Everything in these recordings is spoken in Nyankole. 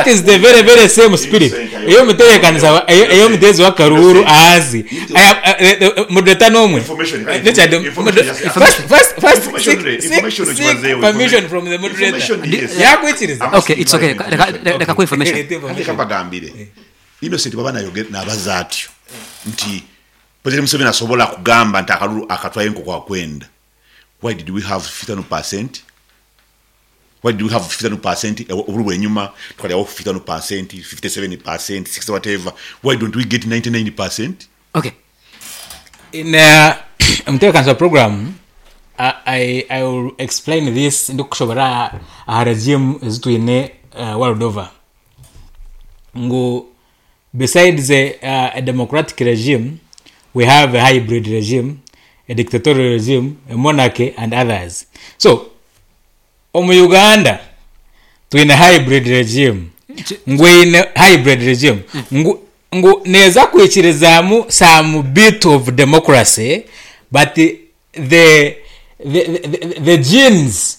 is the very very same spirit ey'omutebeekanisa ey'omuteezi w'akaruuru ahansi. Moderator n'omwe. Richard, first, first, first seek, seek, seek permission from the moderator. Yakwikiriza? Okay, it's okay. Reka reka kuha information. Leeta information. Reka mbagambire. Innocent bwaba nayogera nabaza atyo nti President Museveni asobola kugamba nti akalulu akatwaire nkoku akwenda. Why did we have 52%? Why did we have 52% obululu bwenyuma tukaryaho 52%, 57%, 60 whatever. Why don't we get 99%? Okay. In omutebekanisa wa program I, I will explain this ndikushoborora aha regime ezi twine world over ngu Besides a democratic regime, we have a hybrid regime, a dictatorial regime, a monarchy and others. So, omu Uganda twine hybrid regime ngu eine hybrid regime ngu ngu neeza kwikirizaamu some bit of democracy but the, the, the, the genes,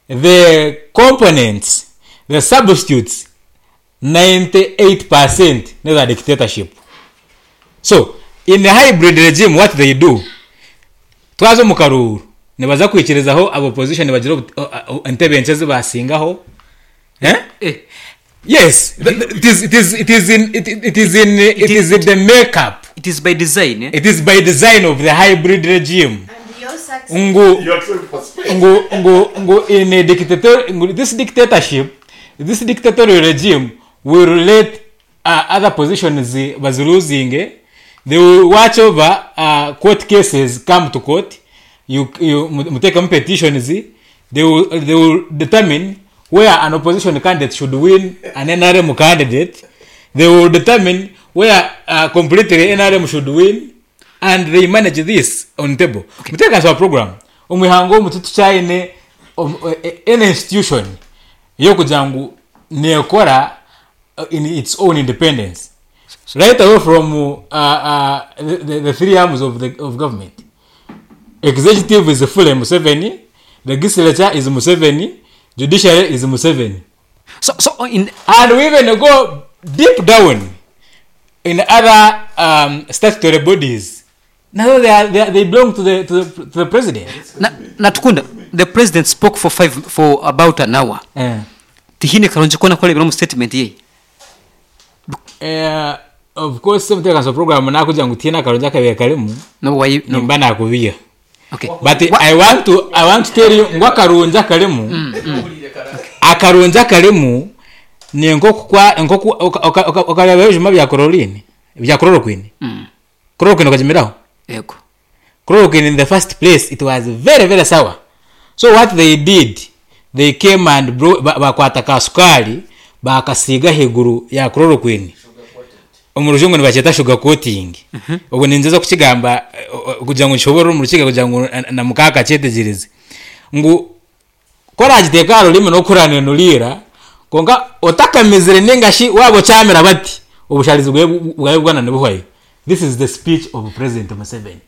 the components, the substitutes 98 per cent n'eza dictatorship. So in a hybrid regime what they do, twaza omu karuuru nibaza kwikirizaho aba opposition bagire entebe nkye ezi basingaho eh? Eh. Yes, it is, it is, it is in, it, it is in, it is in the makeup. It is by design. Eh? It is by design of the hybrid regime. And your success. Ngu, ngu, ngu, ngu in a dictator, ngu this dictatorship This dictatorial regime will let other positions baziluzinge, they will watch over court cases come to court, you, you, mutekemu petitions, they will, they will determine where an opposition candidate should win an NRM candidate, they will determine where completely NRM should win and they manage this on table. Okay. Muteekakanisa wa program, omu ihanga omu titukyaine any institution y'okugira ngu neekora in its own independence right away from the three arms of the of government. Executive is fully Museveni, legislature is Museveni, judiciary is Museveni. So, so in And we even go deep down in other statutory bodies nazo they, are, they, are, they belong to the, to the, to the president. Na, Natukunda, the president spoke for five, for about an hour. Eh. Tihaine karungi koona aku oreebire omu statement ye. Eh, of course omutebeekanisa wa program nakugira ngu tihaine akarungi akabaire karimu N'obu wayi- n'obu- nimba nakubiiha. Okay. But Wa- I want to, I want to tell you ngu akarungi akarimu akarungi akarimu ni nk'okukwa nk'oku oka- oka- oka- okareeba ebijuma bya chlorine bya chloroquine chloroquine okagimiraho Yego. Chloroquine in the first place it was very very sour so what they did they came and bro bakwata ka sukaari bakasiiga ahaiguru ya chloroquine omu rujungu nibakyeta sugar coating obwo ningyeza kukigamba kugira ngu nkishoboorore omu rukiga kugira ngu na mukaaka akyetegyereze ngu Ku oraagiteeka aha rurimi n'okuranenuriira, kwonka otakamizire nainga shi waaba okyamira bati, obushaarizi bwawe bwona nibuhwayo. This is the speech of President Museveni.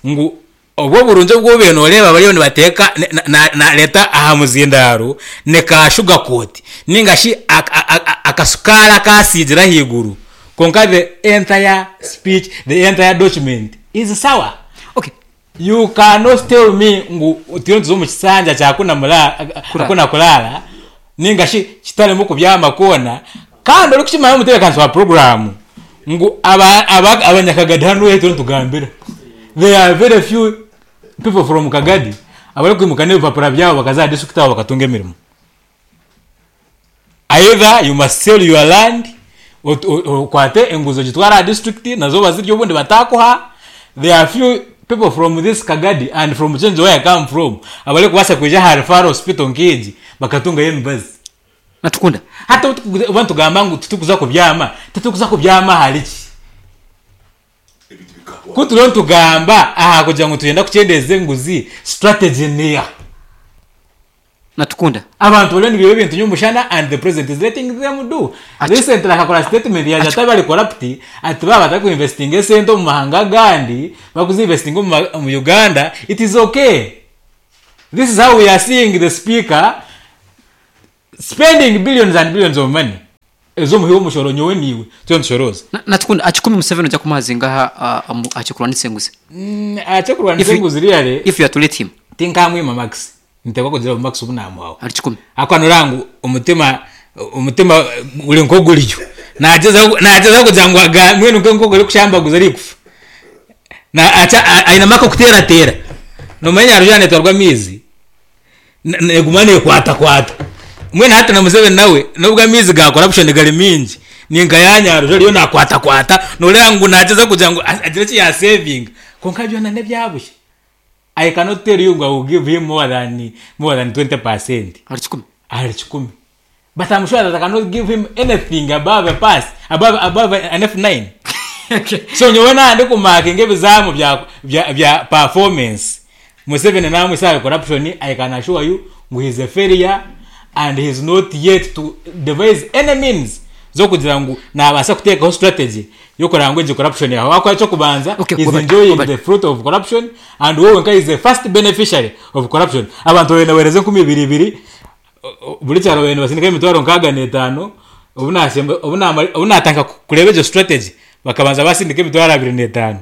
Ngu obwo oburungi obu obaire nooreeba bariyo nibateeka nareeta aha muzindaaro ni ka sugar coat nainga shi akasukaari akasiigire ahaiguru kwonka the entire speech, the entire document is sour. Okay. You cannot tell me ngu turiyo nituza omu kisanja kya hakuna kuraara ninga shi kitarimu kubyama kwona kandi orikukimanya omutebeekanisa wa puroguraamu ngu abanyakagadi hanu ahu turiyo nitugambira there are very few people from Kagadi abarikwimuka n'ebipapura byabo bakaza aha disiturikiti aho bakatunga emirimo. Either you must sell your land okwate enguzi ogitware aha district nazo bazirye obundi batakuha. There are few people from this Kagadi and from Kyenjojo where I come from abarikubaasa kwija aha referral hospital nk'egi bakatungayo emibazi. Natukunda. Hati obu nitugamba ngu titurikuza kubyama, titurikuza kubyama ahari ki? Ku turiyo nitugamba aha kugira ngu nitwenda kukyendeeza enguzi, strategy neeha? Natukunda. Abantu bariyo nibaiba ebintu nyomushana and the president is letting them do. Recently akakora statement yagira ati abari corrupt ati baaba batari ku investinga esente omu mahanga agandi bakuzi investinga omu Uganda it is okay. This is how we are seeing the speaker spending billions and billions of money. Ez'omuhi w'omushoro nyowe naiwe turiyo nitushorooza. Natukunda aha kikumi Museveni oija kumuha zingaha aha ky'okurwanisa enguzi? Aha ky'okurwanisa enguzi really. If you are to rate him. Tinkamwima marks. Niteekwa kugira ngu marks obu naamuhaho. Ahari kikumi. Ahakuba nooreeba ngu omutima omutima guri nk'oguryo. Naagyezaho naagyezaho kugira ngu aga mbwenu nk'enkoko erikushambaguza erikufa. Ainemu ak'okuteerateera. Noomanya Nyaruju yaaba neetwarwa amaizi, neguma nekwatakwata. Mbwenu hati na Museveni nawe n'obu amaizi ga corruption gari maingi, ninka ya Nyaruju ariyo nakwatakwata, noreeba ngu nagyezaho kugira ngu agire eki ya savinga kwonka byona n'ebya busha. I cannot tell you ngu I will give him more than more than 20%. Ahari kikumi? Ahari kikumi. But I'm sure that I cannot give him anything above a pass, above, above an F9. So nyowe naba ndikumakinga ebizaamu bya, bya, bya performance, Museveni namwisa ahari corruption, I can assure you ngu he is a failure and he is not yet to devise any means z'okugira ngu nabaasa kuteekaho strategy y'okureba ngu egi corruption yahwaho. Ahabw'okuba eky'okubanza, Okay, he is wabari, enjoying wabari. the fruit of corruption and we wenka he is the first beneficiary of corruption. Abantu babaire nibaheereza enkumi ibiri ibiri, Buri kyaro babaire nibasindika emitwaro nkaaga n'etaano, obu naashemba obu naamara obu naatandika kureeba egyo strategy, bakabanza baasindika emitwaro abiri n'etaano.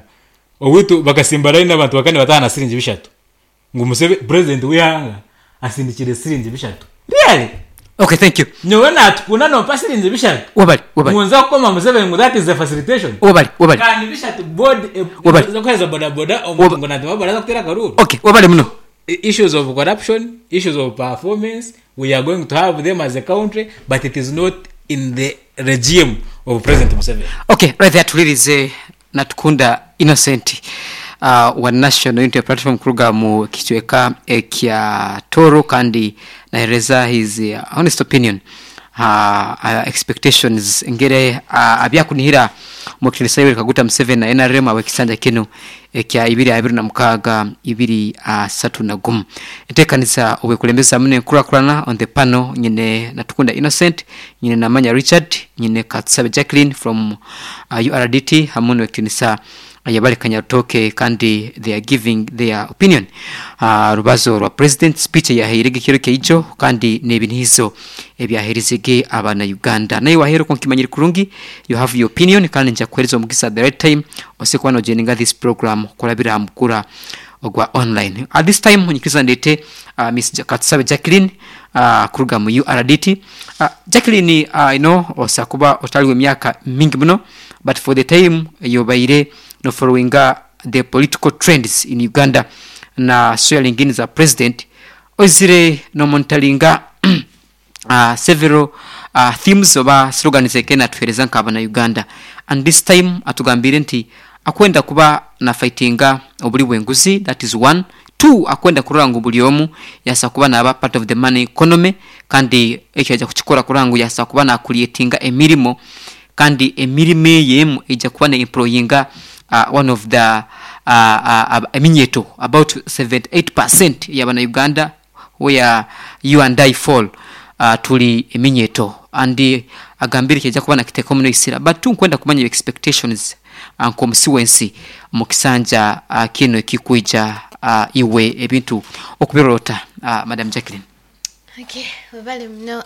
Owaitu bakasimba layini abantu bakaba nibataaha na siringi bishatu. Ngu Museve purezidenti w'eihanga asindikire siringi bishatu. Really? Okay, thank you. Nyowe naatukunda nompa siringi bishatu? Webale, webale. Ngu nze kukoma Museveni ngu that is a facilitation? Webale, webale. Kandi bishatu board Webale. ez'okuheereza bodaboda omuntu ngu naatema boda aza kuteera akaruuru? Okay, webale muno. Issues of corruption, issues of performance, we are going to have them as a country but it is not in the regime of President Museveni. Ok, right there tuhuririze Natukunda Innocent wa National Unity Platform kuruga mu kicweka ekya Tooro kandi nahereza his honest opinion aha expectations engeri abyakunihira omu kitinisa Yoweri Kaguta Museveni na nrm ahabw'ekisanja kinu ekya ibiri abiri na mukaaga ibiri asatu na gumu. Enteekaniza obwekulembeza hamu n'enkurakurana on the panel nyine Natukunda Innocent, nyine Namanya Richard, nyine Katusabe Jacqueline from URDT hamu n'owekitinisa Ayebare Kanyarutooke kandi they are giving their opinion aha rubazo rwa president speech eyahaire ge ekiro kyaijo kandi n'ebinihizo ebyaheerize ge abana Uganda. Naiwe waheera okwo nkimanyire kurungi you have your opinion kandi nija kukuheereza omugisa at the right time osobole kuba nojoininga this program kurabira aha mukura ogwa online. At this time nyikiriza ndeete Miss Katusabe Jacqueline kuruga mu URDT. Jacqueline I know osobola kuba otali w'emyaka mingi muno but for the time eyobaire no followinga the political trends in Uganda na swearing in za president oizire no monitoringa several themes oba slogans eke natuhereza nka abana Uganda and this time atugambiire nti akwenda kuba na fightinga oburi bwenguzi that is one, two akwenda kurora ngu buri omu yasa kuba naba part of the money economy kandi ekyo yaija kukikora kurora ngu yasa kuba na creatinga emirimo kandi emirimo eyo emu eija kuba ne employinga one of the eminyeto about 78% yabana Uganda where you and I fall turi eminyeto and agambire eki aija kuba nakiteekaho muno eisira but tinkwenda kumanya your expectations nk'omusi w'ensi omu kisanja kinu ekikwija iwe ebintu okubirora ota Madam Jacqueline? Okay, webale muno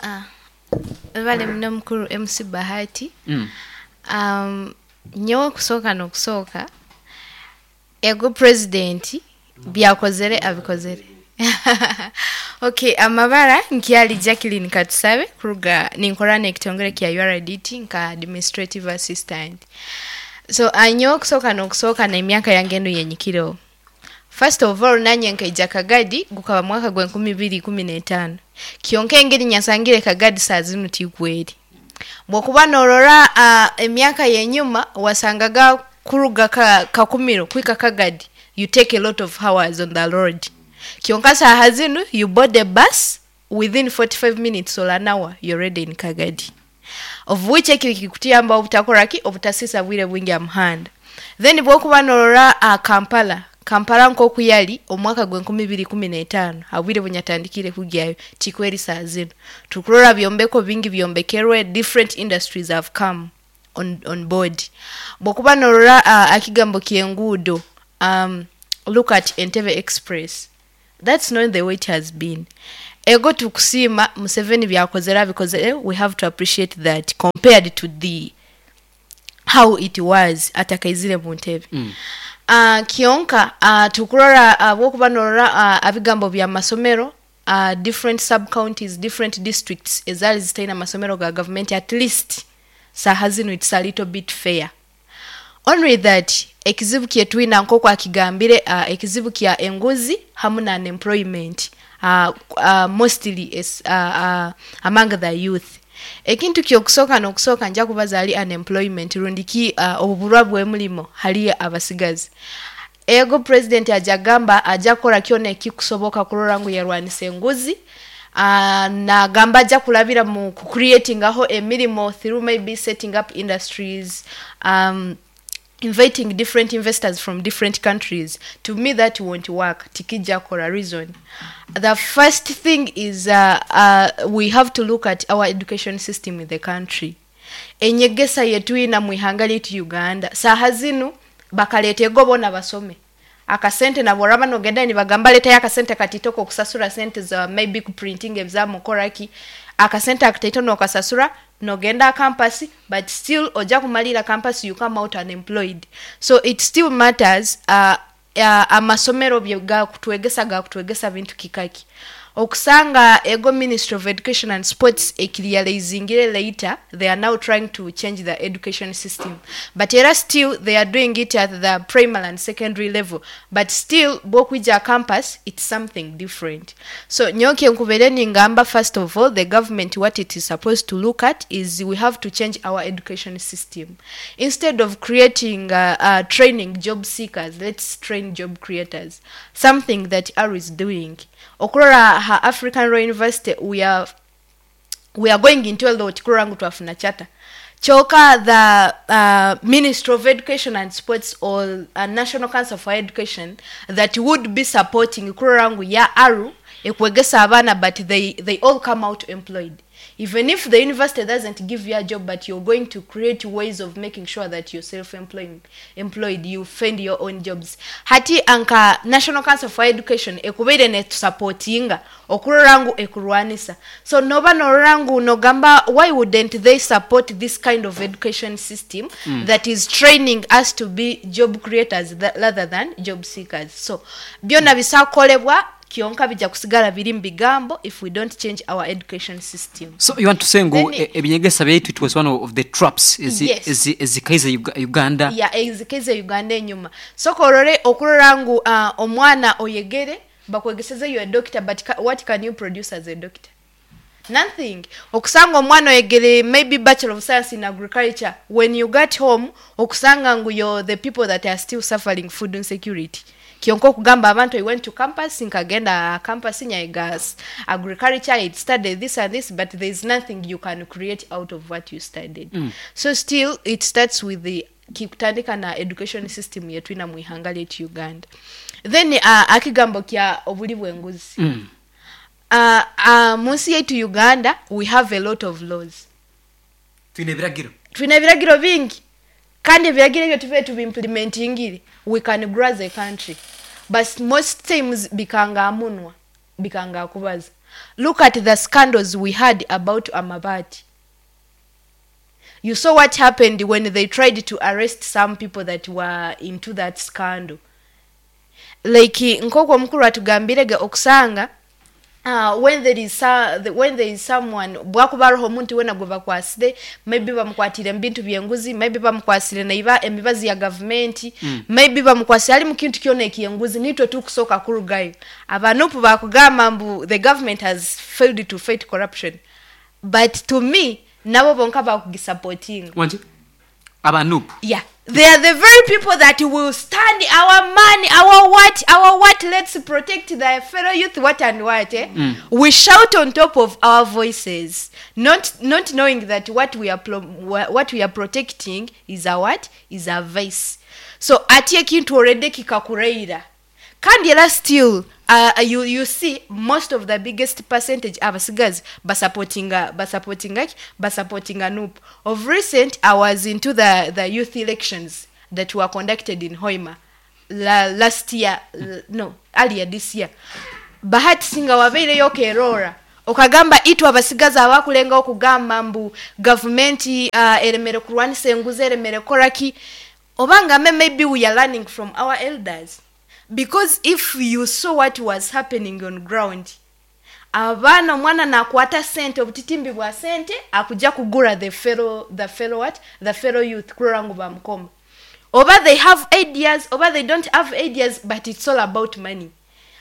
webale muno mukuru MC Bahati. Nyowe okusooka n'okusooka Ego president byakozere abikozere. Ok amabara nkyali Jacqueline Katusabe kuruga ninkora n'ekitongore kya URDT nka administrative assistant. So nyowe okusooka n'okusooka n'emyaka yange enu yenyikireho. First of all nanye nkaija Kagadi gukaba mwaka gwenkumi ibiri ikumi n'etaano. Kyonka engeri nyasangire Kagadi saaha zinu tikweri. Bwokuba norora emyaka yenyuma wasangaga kuruga Kakumiro kuhika Kagadi you take a lot of hours on the road kyonka saaha zinu you board a bus within 45 minutes or an hour you're already in Kagadi of which eki nikikutuyamba obutakoraki obutasiisa bwire bwingi aha muhanda. Then bwokuba norora Kampala, Kampala nkoku yari omu mwaka gwenkumi ibiri ikumi n'etaano aha bwire bunyatandikiire kugyayo tikwo eri saaha zinu. Tukurora byombeko bingi byombekerwe, different industries have come on on board. Bwokuba norora akigambo ky'enguudo, look at Entebbe express, that's not the way it has been. Ego tukusiima Museveni byakozere abikozere we have to appreciate that compared to the how it was atakaizire mu ntebe. Kyonka tukurora ahabw'okuba norora abigambo by'amasomero different sub counties, different districts ezaari zitaine amasomero ga gavumenti at least saaha zinu it's a little bit fair. Only that ekizibu kyetwina nk'oku akigambire ekizibu kya enguzi hamu na unemployment mostly among the youth. Ekintu ky'okusooka n'okusooka nja kubaza ahari unemployment rundi ki obuburwa bw'emirimo hari abasigazi. Ego purezidenti aja kugamba aja kukora kyona ekikusoboka kurora ngu yarwanisa enguzi, nagamba aja kurabira mu ku creatingaho emirimo through maybe setting up industries, inviting different investors from different countries. To me that won't work, tikija kukora. Reason, the first thing is we have to look at our education system in the country. Enyegesa yetwina mu ihanga lyaitu Uganda, saaha zinu bakaleeta ego boona basome. Akasente nabo oraba nogenda nibagamba leetayo akasente kataito k'okusasura sente za maybe kuprintinga ebizaamu okoraki, akasente akataito nokasasura nogenda aha campus but still oja kumaliira campus you come out unemployed. So it still matters amasomero bye gakutwegesa gakutwegesa bintu kikaki. Okusanga ego Ministry of Education and Sports ekirealizingire later they are now trying to change the education system but era still they are doing it at the primary and secondary level but still bwokwija aha campus it's something different. So nyowe kyenkubaire ningamba first of all the government what it is supposed to look at is we have to change our education system. Instead of creating training job seekers, let's train job creators. Something that ARU is doing. Okurora aha African Royal University we are we are going into a lot kurora ngu twafuna charter. Kyoka the Ministry of Education and Sports or National Council for Education that would be supporting kurora ngu ya ARU ekwegesa abaana but they all come out employed. Even if the university doesn't give you a job but you're going to create ways of making sure that you're self-employed, employed, you find your own jobs. Hati anka National Council for Education ekubaire netusupportinga okurora ngu ekurwanisa. So noba norora ngu nogamba why wouldn't they support this kind of education system that is training us to be job creators rather than job seekers. So byona bisakolebwa kyonka bija kusigara biri mu bigambo if we don't change our education system. So you want to say ngu Then ebinyegesa byaitu it was one of the traps Yes. ezikaize Uganda. Ya ezikaize Uganda enyuma. Soka orore okurora ngu omwana oyegere bakwegeseze you a doctor but what can you produce as a doctor? Nothing. Okusanga omwana oyegere maybe Bachelor of Science in Agriculture, when you got home okusanga ngu you're the people that are still suffering food insecurity. Kyonka okugamba abantu I went to campus, nkagenda campus nyayiga agriculture, I studied this and this, but there is nothing you can create out of what you studied. So still it starts with the kikutandika na education system yetwina mu ihanga lyaitu Uganda. Then akigambo kya obuli bw'enguzi. Mu nsi yaitu Uganda we have a lot of laws. Twine ebiragiro. Twine ebiragiro bingi. Kandi ebiragiro ebyo tube tubiimplementingire, we can grow as a country. But most times bikanga amunwa, bikanga akubaza. Look at the scandals we had about amabati. You saw what happened when they tried to arrest some people that were into that scandal. Like nk'oku omukuru atugambirege okusanga when there is someone bwakuba hariho omuntu wena gwe bakwasire maybe bamukwatire mu bintu by'enguzi, maybe bamukwasire naiba emibazi ya gavumenti, maybe bamukwasire ali mu kintu kyona ekyenguzi, nitwe tukusooka kurugayo. Abanupu bakugamba mbu the government has failed to fight corruption, but to me nabo bonka bakugisupportinga. Wangi? Abanupu. Yeah, they are the very people that will stand our money, our what, our what, let's protect the fellow youth, what and what. We shout on top of our voices, not knowing that what we are protecting is our what, is our voice. So ati ekintu already kikakureira. Kandi era still, you see most of the biggest percentage abasigazi basupportinga NUP. Of recent, I was into the youth elections that were conducted in Hoima last year, no, earlier this year. Bahati singa wabaireyo okeroora okagamba itwe abasigazi abakulengaho kugamba mbu gavumenti eremere kurwanisa enguzi eremere kukoraki oba ngambe maybe we are learning from our elders. Because if you saw what was happening on ground, abaana omwana nakwata sente obutitimbi bwa sente akuja kugura the fellow, the fellow what? The fellow youth kurora ngu bamukoma. Oba they have ideas, oba they don't have ideas, but it's all about money.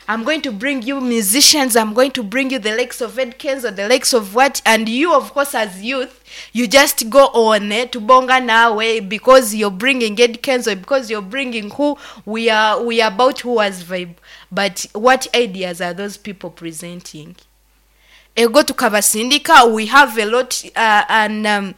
I'm going to bring you musicians, I'm going to bring you the likes of Ed Kenzo, the likes of what, and you, of course, as youth, you just go on to bonga nawe because you're bringing Ed Kenzo, because you're bringing who, we are about who has vibe. But what ideas are those people presenting? Ego tukabasindika, we have a lot, and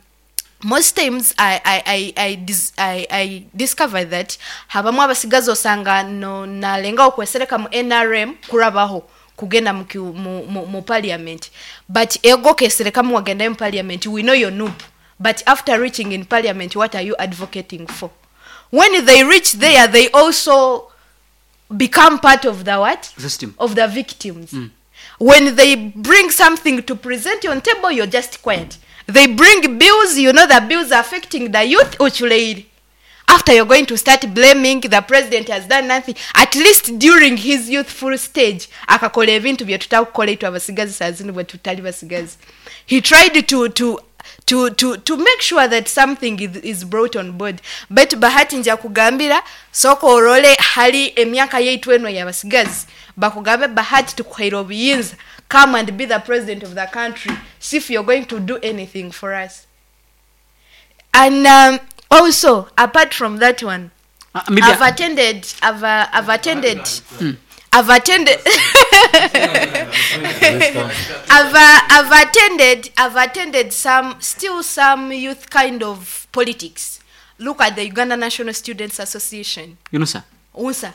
most times I discover that habamu abasigazi osanga no nalenga okwesereka mu NRM kurabaho kugenda mu parliament, but ego kesereka mu wagenda mu parliament, we know your noob, but after reaching in parliament, what are you advocating for? When they reach there, they also become part of the what? System. Of the victims. When they bring something to present on table, you're just quiet. They bring bills, you know the bills are affecting the youth. Uchuleiri. After you're going to start blaming the president has done nothing. At least during his youthful stage, akakola ebintu bye tutakukola itwe abasigazi saa zino bwe tutali basigazi. He tried to make sure that something is brought on board. But Bahati nja kugambira soko orole hali emyaka yaitu eno y'abasigazi. Bakugambe Bahati tukuhaire obuyinza. Come and be the president of the country. See if you're going to do anything for us. And also, apart from that one, maybe I've attended some youth kind of politics. Look at the Uganda National Students Association. UNSA. UNSA.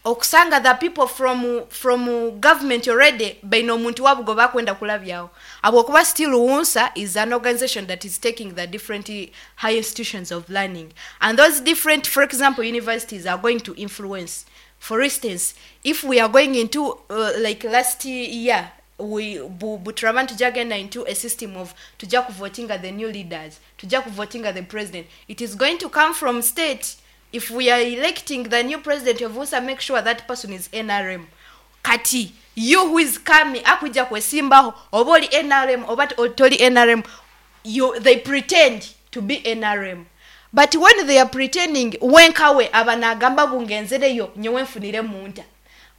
Okusanga the people from government already baino omuntu wabugo bakwenda kulabyawo. Abwokuba still UNSA is an organization that is taking the different high institutions of learning. And those different, for example, universities are going to influence. For instance, if we are going into, like last year, we buturaban tujagenda into a system of tuja voting at the new leaders, tuja voting at the president. It is going to come from state. If we are electing the new president of UNSA, make sure that person is NRM. Kati, you who is coming, akuja kwesimbaho, oba oli NRM, oba toli NRM, they pretend to be NRM. But when they are pretending, wenkawe abanagamba bungenzereyo, nyowe nfunire munta.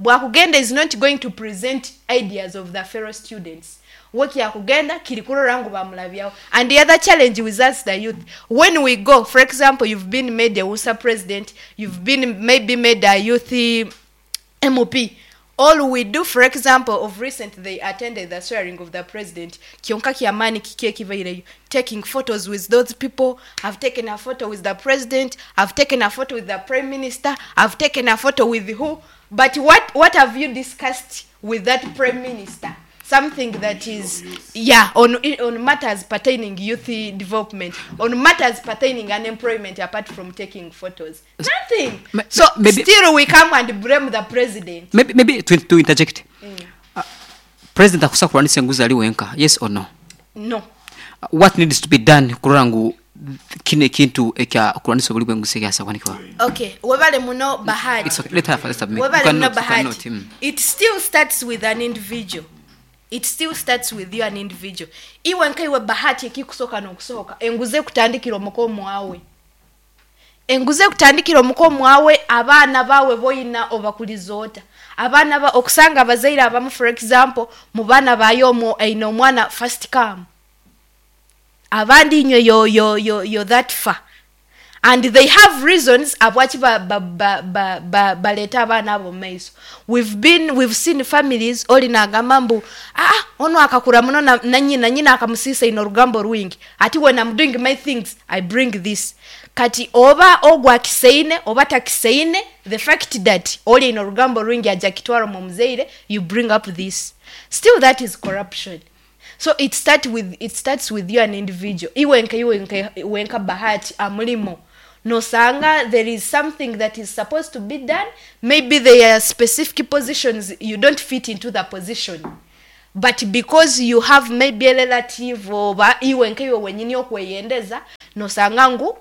Bwakugenda is not going to present ideas of the fellow students. Weki yakugenda kirikuro rangu bamulabyawo. And the other challenge with us, the youth, when we go, for example, you've been made a UNSA president, you've been maybe made a youth MP. All we do, for example, of recent, they attended the swearing of the president. Kyonka kiamani kikie kivaireyo. Taking photos with those people. I've taken a photo with the president. I've taken a photo with the prime minister. I've taken a photo with who? But what have you discussed with that prime minister? Something that is, yeah, on matters pertaining youth development, on matters pertaining unemployment, apart from taking photos. Nothing. So maybe, still we come and blame the president. Maybe to interject. President akusa kulwanisa enguzi ali wenka, yes or no? No. What needs to be done kurora ngu kine kintu ekya kulwanisa obuli bw'enguzi ekyasabwanikibwa? Okay, webale muno Bahati. It's okay. Let her first submit. Webale muno Bahati. It still starts with an individual. It still starts with you, an individual. Iwe nkaiwe Bahati ekikusoka n'okusoka enguze kutandikira omukomo wawe. Enguze kutandikira omukomo wawe, abaana bawe boyina obakulizoota. Abaana ba okusanga abazaire abamu, for example, mu baana bayo omwo aine omwana first come. Abandi inywe yo that far. And they have reasons abwachi baleta abaana abo mu maiso. We've seen families oli nagamba mbu ono akakura muno na nyina akamusisa ino rugambo rwingi. Ati when I'm doing my things I bring this. Kati oba ogwa kiseine oba takiseine, the fact that oli ino rugambo rwingi aja kitwaro mu muzeire, you bring up this. Still that is corruption. So it starts with you an individual. Iwe nka Bahati amulimo. Nosanga there is something that is supposed to be done, maybe there are specific positions, you don't fit into the position, but because you have maybe a relative oba iwe nkaiwe wenyini okweyendeza, nosanga ngu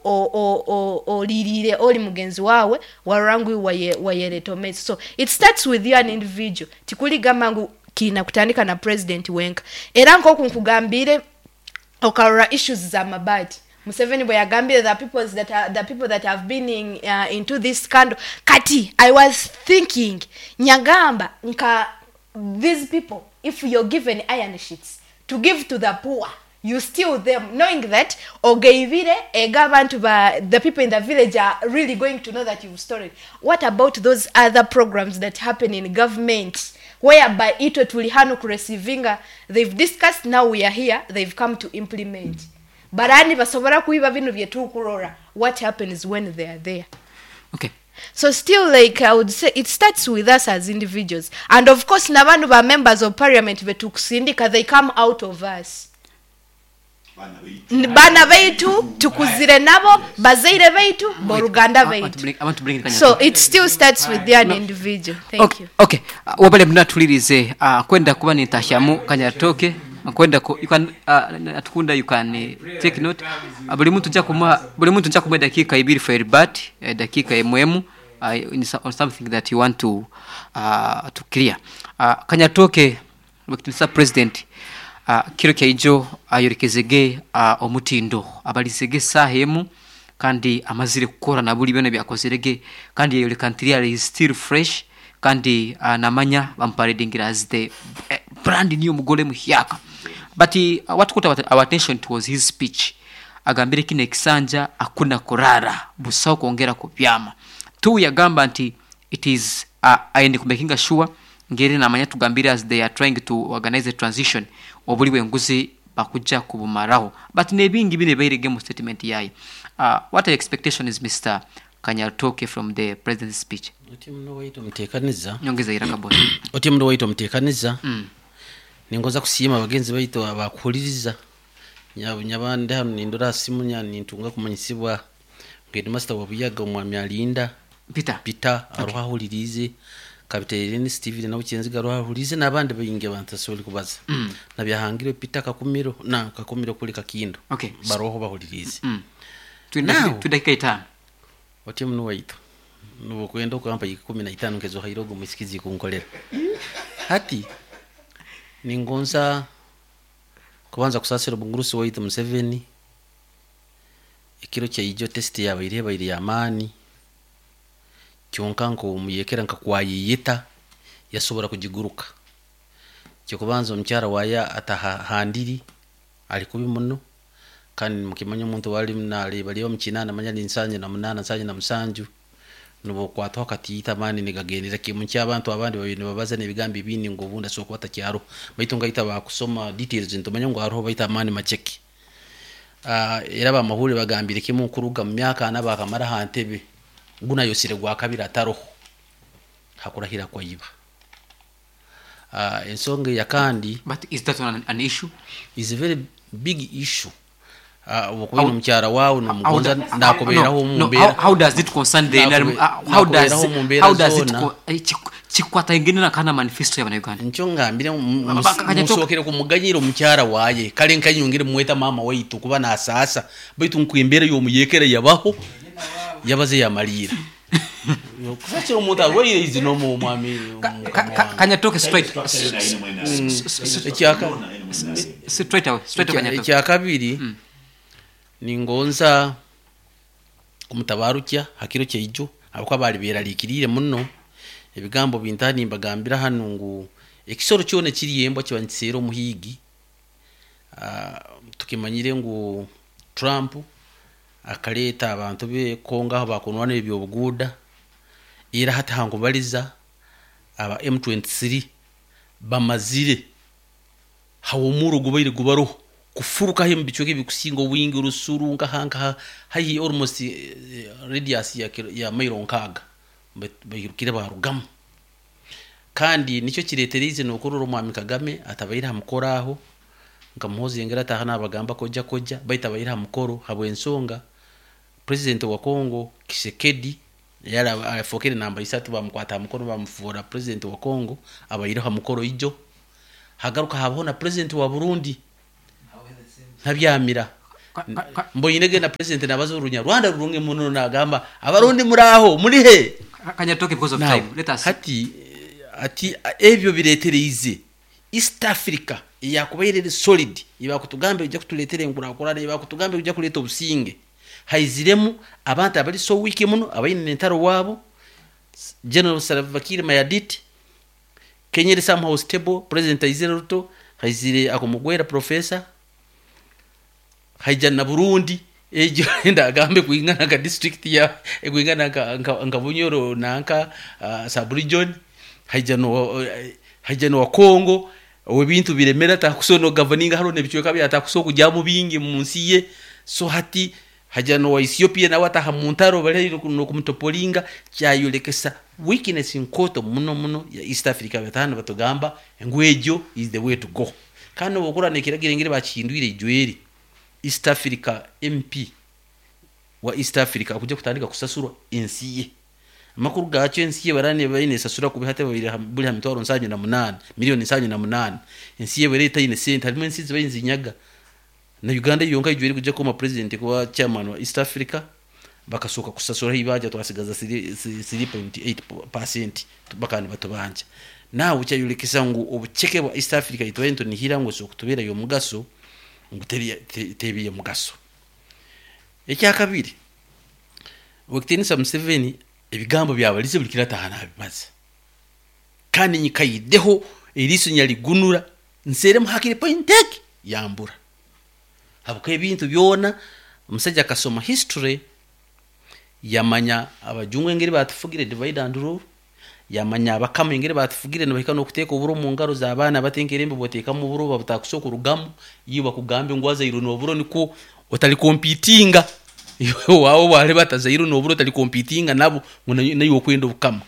olirire oli mugenzi wawe warora ngu iwe wayereta omumaiso. So it starts with you an individual. Tikuligamba ngu kiina kutandika na president wenka. Era nkoku nkugambire, okarora issues za mabaati, Museveni bwe yagambire the people that are, the people that have been into this scandal. Kati I was thinking, nyagamba nka these people, if you're given iron sheets to give to the poor, you steal them knowing that ogeibire ega abantu ba the people in the village are really going to know that you've stolen. What about those other programs that happen in government whereby itwe tuli hano kureceivinga, they've discussed, now we are here, they've come to implement, barani basobora kuiba bino byetukurora? What happens when they are there? So still, like I would say, it starts with us as individuals, and of course nabantu ba members of parliament betukusindika, they come out of us. Bana baitu tukuzire nabo, bazaire baitu, boruganda I want to baitu. I want to bring in So it still starts with the individual. Thank you. Okay. Wabale mnatulirize, kwenda kuba nitahyamu Kanyatoke kwenda ku, you can atukunda, you can take note. Buli muntu nja kumuha dakika ibiri for rebut, dakika emwemu on something that you want to clear. Kanyatoke, Mr. President, kiro kyaijo ayorekezege omutindo abalizege saha emu kandi amazire kukora na buli byona byakozerege, kandi yayoleka nti really is still fresh, kandi namanya bamparadingira as the brand new mugore muhyaka. But what caught our attention was his speech. Agambire kino ekisanja akuna kurara busaho kwongera kubyama tu. Yagamba nti it is aende kumakinga sure ngeri namanya tugambire as they are trying to organize a transition, obuli bwenguzi bakujja kubumaraho, but nebingi bine bairege mu statement yaye. What are expectation is, Mr. Kanyatoke, from the president's speech? Oti muno waitu omuteekaniza. Nyongeza iraka, boss. Oti muno waitu omuteekaniza, ningoza kusiima bagenzi baitu abakuhuliriza. Nyaba ndi hano nindora simu nya nintunga kumanyisibwa headmaster wa Buyaga omwami Alinda Peter. Peter aruho ahulirize, Kapiteni Steven nabo Kyenziga aruho ahulirize, n'abandi baingi abantu asobole kubaza nabyahangire Peter Kakumiro na Kakumiro kuli Kakindo. Baroho bahulirize. Now- Tuli dakika 5. Oti muno waitu nubukwenda okampa 15 nkezo hairogo mwisikizi kunkolera hati. Ningonza kubanza kusasira obungurusi waitu Museveni. Ekiro kyaijo test yabaire ebaire yamaani, kyonka nkomuyekera nkakwayiyita yasobora kugiguruka. Kyokubanza, omukyara waya atahandiri ali kubi muno, kandi mukimanya omuntu wali naleba mukinana manya ni 78, 77, nubukwatwaho katiyita amaani nigagendera kimu ky'abantu abandi babiri nibabaza n'ebigambo ebindi ngu obundi asobola kuba atakyaro, baitu ngaita bakusoma details ntumanya ngu hariho, baitu amaani maceke. Era bamahurire bagambire kimu kuruga mu myaka 40 bakamara aha ntebe, gunayosire gwa kabiri ataroho hakurahira kwayiba. Ensonga eya kandi But is that an issue? Is a very big issue. Okuba omukyara wawe nomugonza nakuberaho No, mu mbeera how does it concern the NRM? How does Nakuberaho mu mbeera how does it zoona. Kikwatagana na kana manifesto y'abanyarwanda? Nkyo ngambire Kanyatoke. Musookere kumuganyira omukyara waye, kale nkanyongere mweta mama waitu kuba nasasa, baitu nkwembeera y'omuyekere yabaho yabaze yamalira kusakira omuntu arwaire izi nomu omwami. Kanyatoke, straight Ekyaka straight away, straight away, Kanyatoke. Ekyakabiri, ningonza kumutabarukya hakiro kyaijo abakuba bali beraliikiriire muno. Ebigambo bintaha nimbagambira hanu ngu ekisoro kyona ekiri embwa kiba nikiseera omuhiigi. Tukimanyire ngu Trump akaleeta abantu be Kongo aho bakunwana ebyobuguuda, era hati hankubaliza aba M23 bamazire hawomuro gubaire gubaroho kufurukaho mu bicweka ebikusinga obwingi, Rusuru nkaha haihi almost radius ya mairo 60, bairukire barugamu. Kandi nicyo kireeterize nokurora omwami Kagame atabaire ha mukoro aho, nka Muhozi yengera ataha nabagamba koja koja, baitu abaire ha mukoro habw'ensonga. President wa Congo Tshisekedi yari afokere namba isatu, bamukwata aha mukono bamufuura president wa Congo, abaireho aha mukoro ijo. Hagaruka habaho na president wa Burundi Ntabyamira. Mboine na president nabaza Orunyarwanda rurungi muno, nagamba, "Abarundi muraho, muri he?" Kanyatoke, because of Now, time, let us hati ati ebyo biretereize East Africa eyakubaire eri solid, ebakutugambe ejja kutuleetera enkurakurana, ebakutugambe ejja kuleeta obusinge, haiziremu abantu abari so weak muno, abaine entaro waabo. General Salva Kiir Mayardit. Kenya eri somehow stable, president aizire Ruto, haizire akumugwera professor, haija na Burundi egyo ndagambe kwingana nka district ya kwingana nka Bunyoro nanka sub region. Haija no wa Congo ebintu biremera, takusobola governinga, hariho n'ebicweka byatakusobola kujyamu bingi mu nsi ye. So hati haja no wa Ethiopia nawe ataha mu ntaro, bari nokumutopolinga. Kyayolekesa weakness nkoto muno muno ya East Africa. Batahana batugamba ngu egyo is the way to go, kandi obukura nekiragira engeri bakihindwire ijweri East Africa. MP wa East Africa akuja kutandika kusasurwa ensi ye. Amakuru gakyo, ensi ye barane baine esasura kubi hati babiri buli ha 78,000, miliyoni 78. Ensi ye bere etaine sente. Harimu ensi zibaye nzinyaga na Uganda yonka ijweri kuja kuma president kuba chairman wa East Africa, bakasooka kusasura ibanja, twasigaza 3.8% bakandi batubanja. Nawe kyayolekesa ngu obuceke bwa East Africa itwaye ntunihira ngu so kutubeera yomugaso, ngu tebiye mugaso. Ekyakabiri, Wekitinisa Museveni ebigambo byabalize buli kirataha nabibaza, kandi nyikaideho eriiso nyaligunura nseremu hakiri point egi yambura, habwokuba ebintu byona omusajja akasoma history, yamanya abajungu engeri batufugire, divide and rule, yamanya abakama engeri batufugire, nibahika n'okuteeka oburo mu ngaro z'abaana batenkerembe, boteekamu oburo babutakusa okurugamu. Iyo bakugambe ngu wazairwe n'oburo nikwo otali competinga wawe bwale batazairwe n'oburo, otali competinga nabo ngu naiwe okwenda obukama.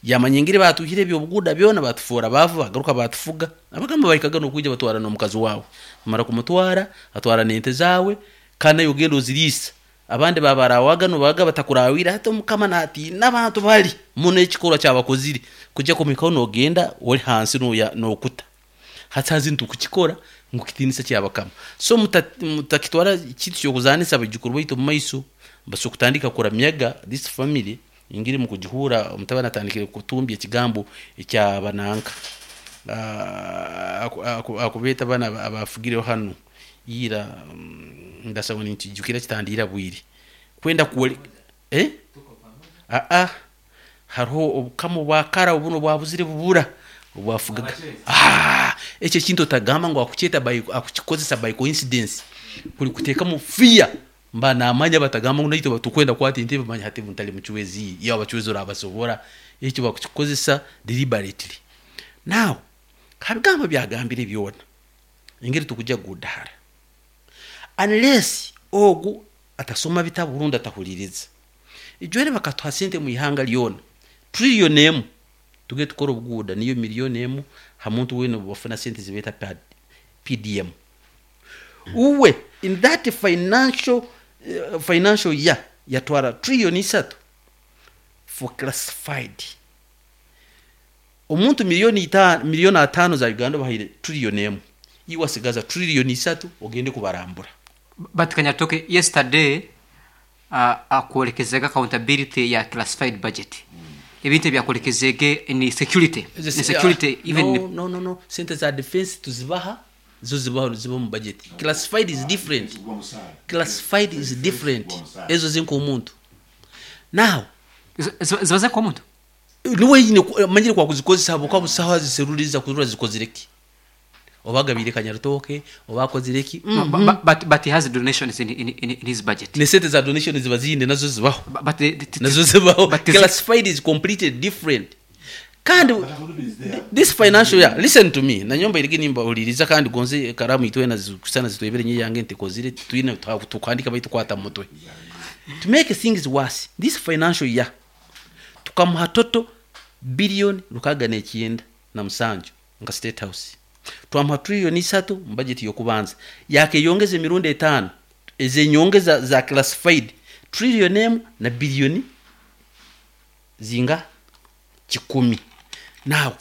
Yamanya engeri batuhire ebyobuguda byona, batufuura baavu, bagaruka batufuga. Abagamba bahikaga n'okwija batwara n'omukazi wawe, bamara kumutwara, atwara n'ente zawe, kandi nawe ogenda oziriisa, abandi babarawaga nobaga batakurawire. Hati omukama natiina abantu bali muno, ekikorwa kyabakozire kujya kumhikaho nogenda ori hansi nokuta hati hazi nitukukikora ngu kitinisa kyabakama. So mutakitwara kintu kyokuzanisa. Abaijukuru baitu omu maiso basobola kutandika kuramyaga this family ingiri mukugihura. Omutabani atandikire kutumbya ekigambo ekyabananka akubeeta bana abafugireho hanu ira, ndasaba ninkijukira kitandira bwire kwenda kuwole aa hariho obukama obwakara obuno bwabuzire bubura obwafugaga. Ekyo ekintu otagamba ngu akukyeta by akukikozesa by coincidence, kuri kuteekamu fear mba namanya batagamba ngu naitwe tukwenda kukwata entebe. Manya hati ntali mucwezi, iyo abacwezi orabasobora, ekyo bakukikozesa deliberately. Now, habigambo byagambire byona engeri tukujja kugudahara, unless ogu atasoma bitabu rundi atahuliriza. Ijwere bakatuha sente mu ihanga lyona 1 trillion, tuge tukora obuguuda, niyo 1 million ha muntu wena bafuna sente zibeeta PDM. Uwe in that financial year yatwara 3 trillion for classified. Omuntu 5 miliyoni, 5 miliyoni za Uganda bahaire 1 trillion, iwe asigaza 3 trillion ogende kubarambura. But Kanyatoke, yesterday akwolekezega accountability ya classified budget, ebintu ebyakolekezege ni security even. No, no, no, no. Sente za defense tuzibaha, zo zibaho, ziba mu budget. Classified is different, classified is different. Ezo zinka omuntu now. Zibaze nk'omuntu. Niwe nyine manyire kwa kuzikozesa habwokuba busaho ziseruliza kurura zikozire ki, oba agabire Kanyarutoke, oba akozire ki. No, but he has donations in his budget. Ne sente za donation ziba ziyinde, nazo zibaho. But Nazo zibaho. But Classified is completely different. Kandi this financial year, listen to me, nanyomba irigi nimba uliriza, kandi gonze karamu itwena zikusana zitwebere nye yange ntikozire twine tukwandika baitu kwata mutwe. To make things worse, this financial year tukamuha total 697 billion nka State House. Twamuha 3 trillion mu budget yokubanza, yakeyongeza emirundi 5 ezenyongeza za classified. Trillion emwe na billion zinga? Kikumi. Now,